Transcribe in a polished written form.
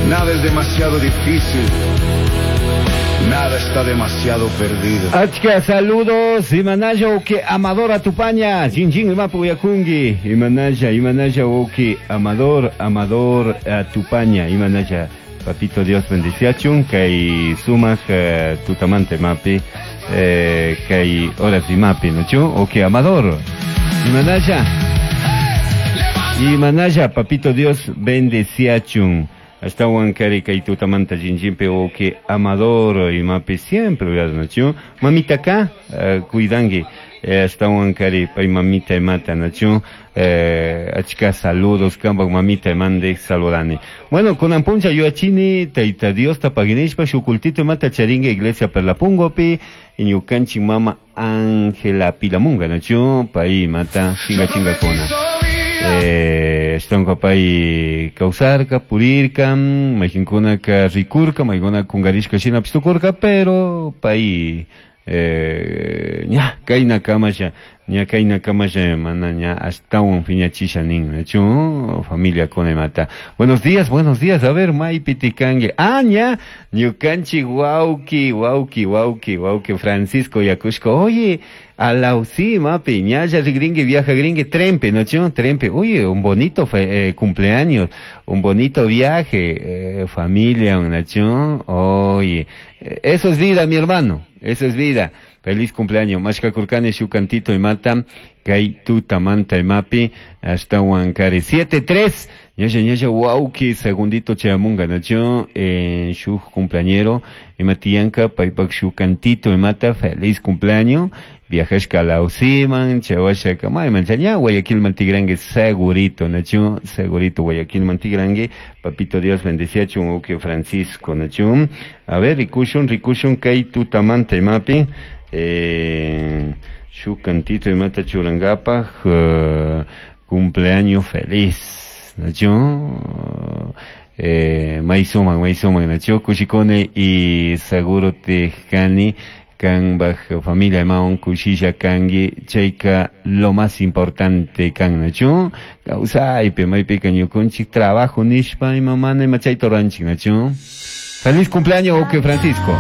Nada es demasiado difícil. Nada está demasiado perdido. Achka saludos, imanalla uki Amador Atupaña, chin imapu yakungi, imanalla, imanalla uki Amador, Amador Atupaña, imanalla. Papito Dios bendiciachun, kay sumaq tutamanta imapi, kay horas imapi, ¿no? Uki Amador, imanalla. Imanalla, Papito Dios bendiciachun. Ashtawan kari kay tutamanta chinchimpi uki Amador imapi siempre uyarnachu. Mamita ka cuidangi. Ashtawan kari pay mamita imata nachu. Achka saludos kambak mamita imande saludani. Bueno, kunan puncha yuachini Tayta Dios tapaginishpa shukultito imata charinga iglesia Perlapungopi ñukanchik mama Ángela Pilamunga nachu pay imata chinga chinga kuna. Ashtawanka pay kawsarka, purirka, mayqinkunaka rikurka, maykuna kunkarishka shinapish tukurka, pero pay ña kayna kamasha, ña kayna kamasha mana ña ashtawan phiñachisha nin, nachu familia kuna imata. Buenos días, a ver, maypi tikanki. Ah, ña, ñukanchik wawki, wawki, wawki, wawki Francisco Yakushka. Oye, alausi, mapi, ñalla rigringue, viaja gringue, trempe, ¿no? Trempe, oye, un bonito cumpleaños, un bonito viaje, familia, ¿no? Oye, eso es vida, mi hermano, eso es vida. Feliz cumpleaños, Mashka Kurkani, Shukantito y Mata, Kai Tuta Manta y Mapi, hasta Huancari. 7-3, ñalla, ñalla, wauki, segundito chayamunga, ¿no? Shu cumpleañero, y Matianka, Paipak Shukantito y Mata, feliz cumpleaños. Viajas Calausiman, Chawasha Kamay, Manchaña, Guayaquil Mantigrangue, segurito, Nachu, segurito, Guayaquil Mantigrangue, Papito Dios bendecía Chunguque Francisco, Nachu. A ver, Rikushun, Rikushun, Kai Tutamante, Mapi, Shukantito y Mata Churangapa, cumpleaños feliz, Nachu. Maisuman, Maisuman, Nachu, Kushikone y seguro Tejani. Kan baj familia maun kushilla kangi chayka lo más importante kan nachu kawsaypi maypika ñukunchik trabajo nishpa imamana ima chayta ruranchik nachu. Feliz cumpleaños, Oke Francisco.